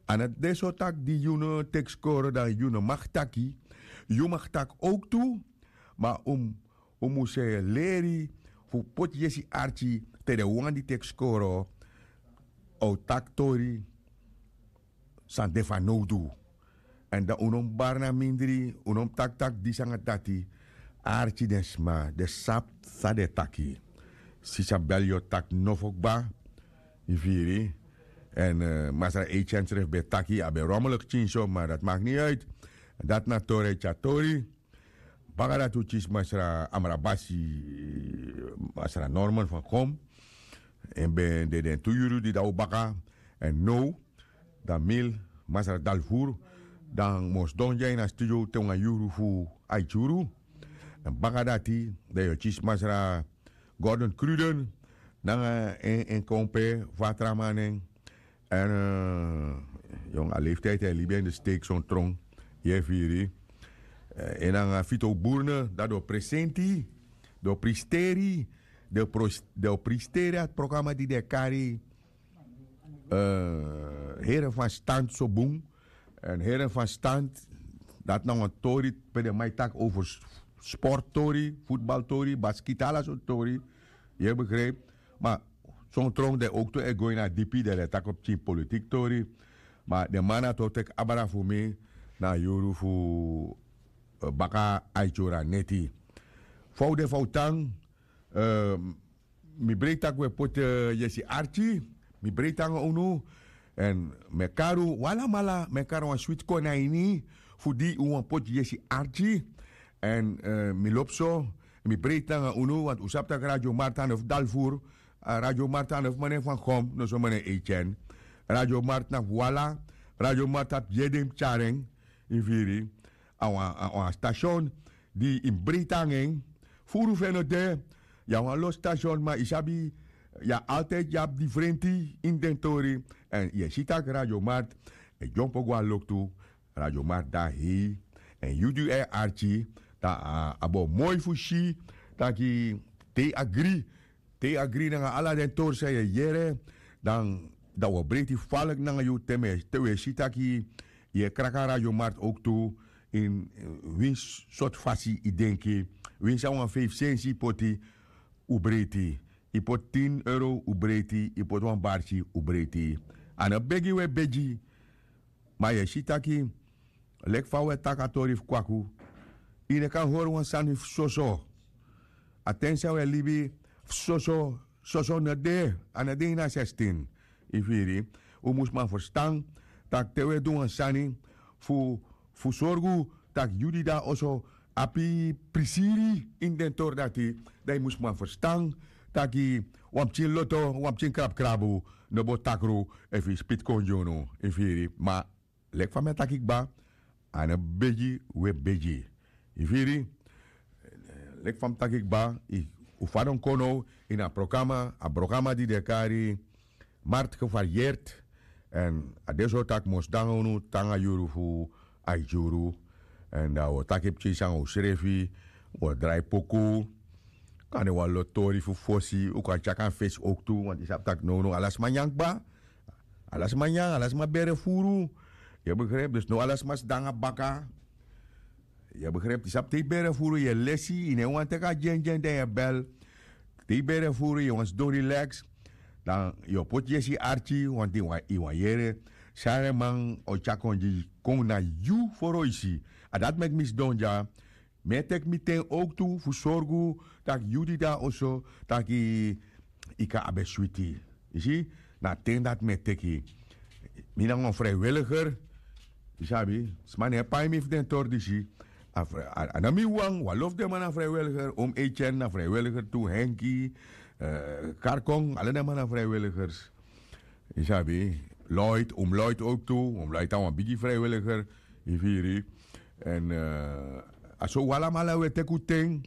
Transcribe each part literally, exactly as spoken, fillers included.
A no de so taki di yu no teki skoro dan yu no mag taki. Yu mag taki owk tu. Ma un mus leri fu poti yesi arki te den wan di teki skoro a o taki tori san de fanowdu. Èn dan un no mus bari na mindri, un no mus taki taki disi nanga dati. Arki den sma den sabi san den e taki. Sisa bel yu o taki nofo kba. Yu firi? Èn masra eikyen srefi ben e taki a ben romel kikin so ma dati maki ni uit. Dati na tori e tyari tori. Baka dati un kisi masra amrabasi, masra norman fankom. En ben de den tu yuru di dan un baka. Èn now dan mil masra dalfuru dan mi o sidon dya ini a studio te wan yuru fu aiti yuru. Èn baka dati dan yu o kisi masra gordon kruden nanga en kompe fu a tra man nen. Èn yon a leeftiyti e libi en de steek son tron. Yu e firi? En nanga fito burne dati den o presenti den o pristeri den o pristeri a programa di den e kari. Heren fan stand so bun. Èn heren fan stand dati na wan tori pe den man e taki over sporttori, futbaltori, baskiti ala sortu tori. Yu e begripi? Ma son tron den owktu e go ini a dipi den den taki o pikin politiki tori. Ma den man na tu o teki abra fu mi na a yuru fu baka aiti yuru a neti. Fa un de fa un tan? Mi breiti tak' un e poti yesi arki. Mi breiti nanga unu. Èn mi e kari un alamala mi e kari wan switi kon na ini fu di un wani poti yesi arki. Èn mi lobi so. Mi breiti nanga unu wantu un sabi tak' radio marta no fu dalfuru. Radio marta no fu menen fan gom no so menen eityen. Radio marta na fu ala. Radio marta abi yede yu mus tyari en. Yu firi? A wan stasyon di yu mus breiti nanga en. Furu fu en no de. Yu na wan lo stasyon ma yu sabi yu na altidi yu abi difrenti ini den tori. Èn yu e si tak' radio marta e dyompo go na loktu. Radio marta de na hei. Èn yu di yu e arki dan a bo moi fu si tak' te yu agri te yu agri nanga ala den tori san yu e yere dan un o breiti faliki nanga yu te un e si tak' yu e kraki a radio marta owktu. Ini winsi sortu fasi yu denki winsi a wan feifi sensi yu poti un breiti. Yu poti tin euro un breiti yu poti wan barki un breiti. A no begi un e begi. Ma yu e si tak' leki fa un e taki a tori fu kwaku yu no kan hori wan sani fu soso. A ten san un e libi fu soso soso no de. A no de ini a sestin. Yu firi? Un mus man ferstan tak' te un e du wan sani fu fu sorgu tak' yu di de na oso abi prisiri ini den tori dati. Dan yu mus man ferstan tak' wan pikin loto wan pikin krabukrabu no bo takru efu yu spiti kon gi unu. Yu firi? Ma leki fa mi e taki kba a no begi un e begi. Yu firi? Leki fa mi taki kba un fadon kon now ini a programa a programa di den e kari marti gevariyerti. Èn a de so tak' mi o sidon nanga unu te nanga yuru fu aiti yuru. Èn dan un o taki pikinsi nanga unsrefi un o drai poku. Kan de wan lo tori fu fosi un kan tyaki na fesi owktu wantu yu sabi tak' nownow ala sma nyan kba. Ala sma nyan ala sma bere furu. Yu e begripi dus now ala sma sidon nanga baka. Yu e begripi yu sabi te yu bere furu yu e lesi yu no e wani teki a dyendyen dan yu e bel. Te yu bere furu yu e wani sidon rileks dan yu o poti yesi arki wantu yu wani yere san den man o tyari kon gi kon na yu foroisi. A dati meki mi sidon dya. Mi e teki mi ten owktu fu sorgu tak' yu di de na oso tak' yu kan abi en switi. Yu si? Na a ten dati mi e teki mi nanga wan frijwiliger. Yu sabi sma no e pai mi fu den tori disi. A no mi wan wan lo fu den man na frijwiliger om eityen na frijwiliger tu henki karkon ala den man na frijwiligers. Yu sabi? Loit om loit owktu om loit na wan bigi frijwiliger. Yu firi? Èn a so un alamala un e teki un ten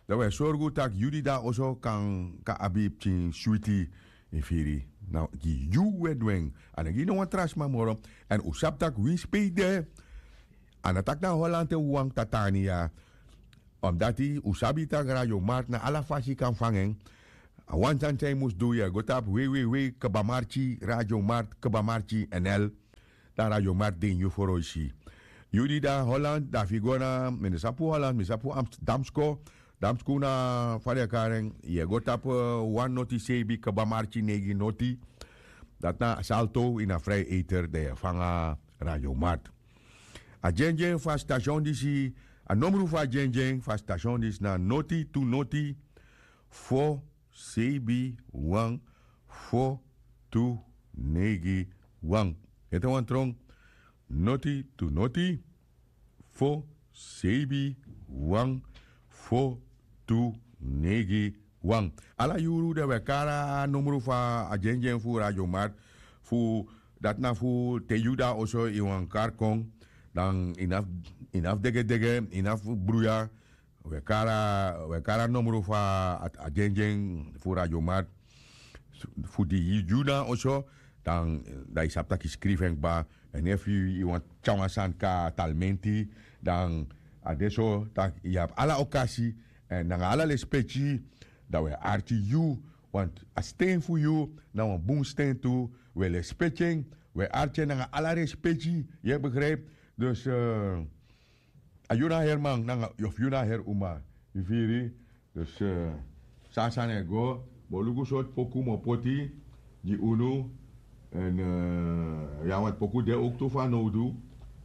dan un e sorgu tak' yu di de na oso kan abi pikin switi. Yu firi? Na gi yu un e du en. A no gi no wan tra sma moro. Èn un sabi tak' winsi pe yu de a no taki na holland en wawan kta tan ini ya. Omdati un sabi tak' radio marti na ala fasi yu kan fanga en. A wan sani san yu mus du yu e go tapu wei wei wei kba marti radio marti kba marti nl. Dan Radio Martin yu foroisi. Yu di dan Holland dan fu yu go na mi no sabi fu Holland, mi sabi fu Damsko. Damsko na fa den e kari en, yu e go tapu wan noti sebi kba marki neigi noti. Dati na Salto ini a Vrije Eter dan yu e fanga Radio Mart. A dyendyen fu a station disi, a nomru fu a dyendyen fu a station disi na noti tu noti fo sebi wan fo tu neigi wan. Ete wan trong. Noti tu noti fo sebi wan fo tu neigi wan. Ala yuru dan wi e kari a nomru fu a dyendyen fu Radio Mart. Fu dati na fu te yu dan oso ini wan kari kon, dan ini a fu degedege, ini a fu bruya. Wi e kari a nomru fu a dyendyen fu Radio Mart. Fu di yu dan oso, dan yu sabi tak' yu skrifi en kba. Èn efu yu wani tyari wan sani kon na talmenti, dan a de so tak' yu abi ala okasi, èn nanga ala lespeki, dan wi e arki yu. Want a sten fu yu na wan bun sten tu. Wi e lespeki en, wi e arki en nanga ala respeki. Yu e begrijpi? Dus a yu na heri man nanga of yu na heri uma. Yu firi? Dus san a sani e go, mi o luku sortu poku mi o poti gi unu. Èn ya, want poku de owktu fanowdu.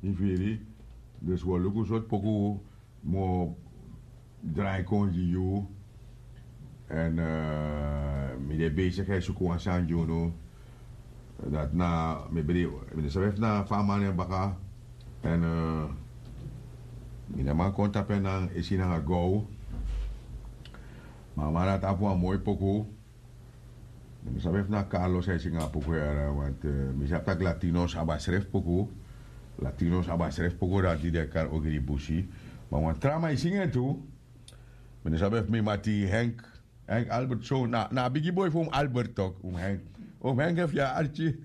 Yu firi? Dus wi o luku sortu poku mi o drai kon gi yu. Èn mi de besigi e suku wan sani gi unu. Dati na mi bri, mi no sabi efu na fa a man na en baka. Èn mi no man kon tapu en nanga esi nanga gow. Ma a man dati abi wan moi poku. Mi no sabi efu na Carlos a e singi a poku yara, want mi sabi tak' Latinos abi a srefi poku. Latinos abi a srefi poku dati di den e kari Ogri Busi. Ma wan tra man e singi en tu. Mi no sabi efu mi mati Henk, Henk Albert so na a bigi boi fu un Albert tok, un Henk. Un Henk efu yu e arki.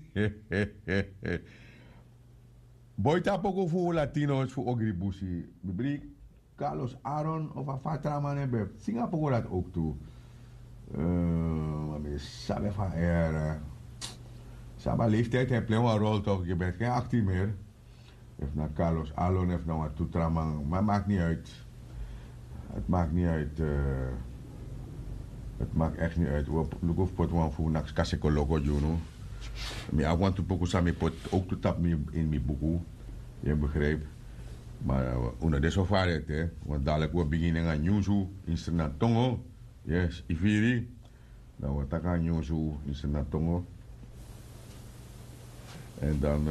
Boi tapu poku fu Latinos fu Ogri Busi. Bibri, Carlos Aaron of a fa tra man en ben singi a poku dati owktu. Ma mi sabi efu a ere. Sabi a leeftijd e plei wan rol tok, yu ben ken akti meri. Efu na Carlos Alon efu na wan tu tra man, ma maki ni uit. Het maki ni uit. Het maki ekti ni uit. Wi o luku fu poti wan fu naki kasekoloko gi unu. Mi abi wan tu poku san mi poti owktu tapu mi ini mi buku. Yu e begrijpi? Ma un no de so fari ete, want dadiliki wi o bigin nanga nyunsu ini Sranan tongo. Yes, yu firi? Dan wi o taki a nyunsu ini Sranan tongo. Èn dan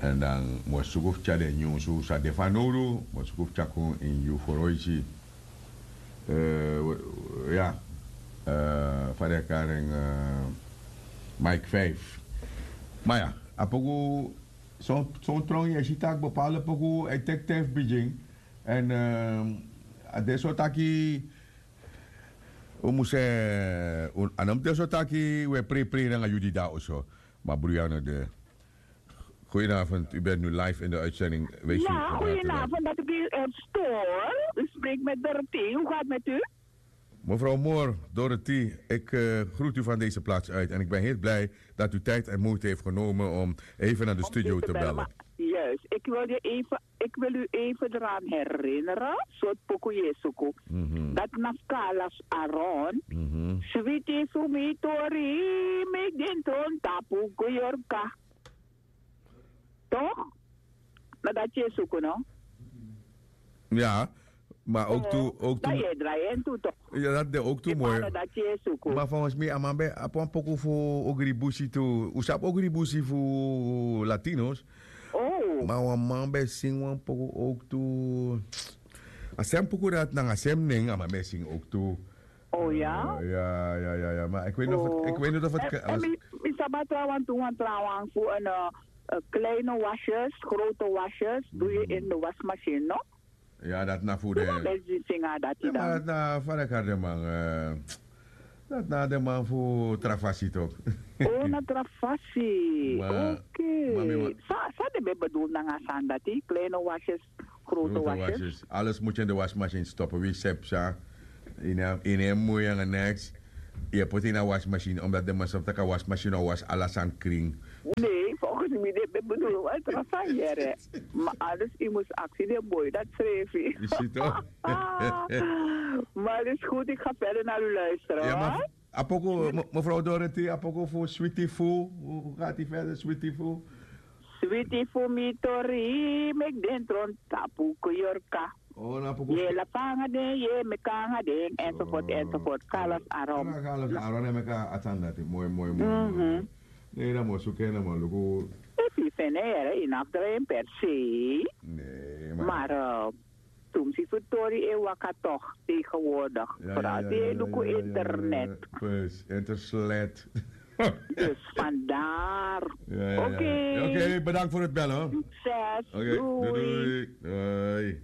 èn dan mi o suku fu tyari den nyunsu san de fanowdu, mi o suku fu tyari kon ini yu foroisi. Ya, fa den e kari en, Mike vijf. Ma ya, a poku son tron yu e si tak' bepaalde poku e teki ten fu bigin. Èn a de so taki un mus e, a no mus de so taki un e preiprei nanga yu di de na oso. Ma bruya no de. Goedenavond, u bent nu live in de uitzending. Wees u van harte welkom. Goedenavond, dat ik u stoor. U spreekt met Dorothy. Hoe gaat het met u? Mevrouw Moore, Dorothy, ik groet u van deze plaats uit en ik ben heel blij dat u tijd en moeite heeft genomen om even naar de studio te bellen. Juist, ik wil je even, ik wil u even eraan herinneren, soort pokoe yu e suku. Dat na Carlos Aaron. Switi sumi tori, mi den tron tapu Goyorka. Toch? Na dati yu e suku, no? Ya, ma owktu, owktu. Dan yu e drai en tu, toch? Ya, dati de owktu moi. Na dati yu e suku. Ma volgens mi a man ben abi wan poku fu Ogribusi tu. Un sabi Ogribusi fu Latinos. Ma wan man ben singi wan poku owktu. A sem poku dati nanga sem nen a man ben singi owktu. Oh ya? Ya, ya, ya, ya. Ma ik weet niet of het, ik weet niet of het. En mi, mi sabi a trawan tu, wan trawan fu een, eh, kleine wasjes, grote wasjes doe je in de wasmachine, no? Ya, dati na fu de. Yu ben singi dati dan. Ma dati na fa den e kari den man, eh, dati na den man fu tra fasi toch. Oh, na tra fasi. Oké. San, san den ben bedoel nanga a sani dati? Kleine wasjes, grote wasjes. Alles moet je in de wasmachine stoppen. Wie sepsa. Yu no e moi nanga niks. Yu e poti ini a wasmachine, omdat den man sabi tak' a wasmachine o wasi ala sani krin. Nee, Mi de ben bedoel wan tra sani yere. Ma alles, u mus aksi den boi dat srefi. Yu si toch? Maar is goed, ik ga verder naar u luisteren, hoor. Apoko, mevrouw Dorothy, apoko fu Sweetie Fu. Hoe gaat die verder, Sweetie Fu? Sweetie Fu mi tori, mek den tron tapu koyorka. Oh, na apoko. Ye la fanga den, ye me kanga den, enzovoort, enzovoort. Carlos Aron. Carlos Aron, en meka atsan dati. Mooi, mooi, mooi. Nee, na mo suke, na mo luku. Efi fene yere, inaf drain per se. Nee, maar. Maar, eh, Tumsi fu tori e waka toch tegenwoordig. Vooral die e luku internet. Precies, internet. Dus vandaar. Oké. Oké, bedankt voor het bellen, hoor. Succes. Oké, doei. Doei.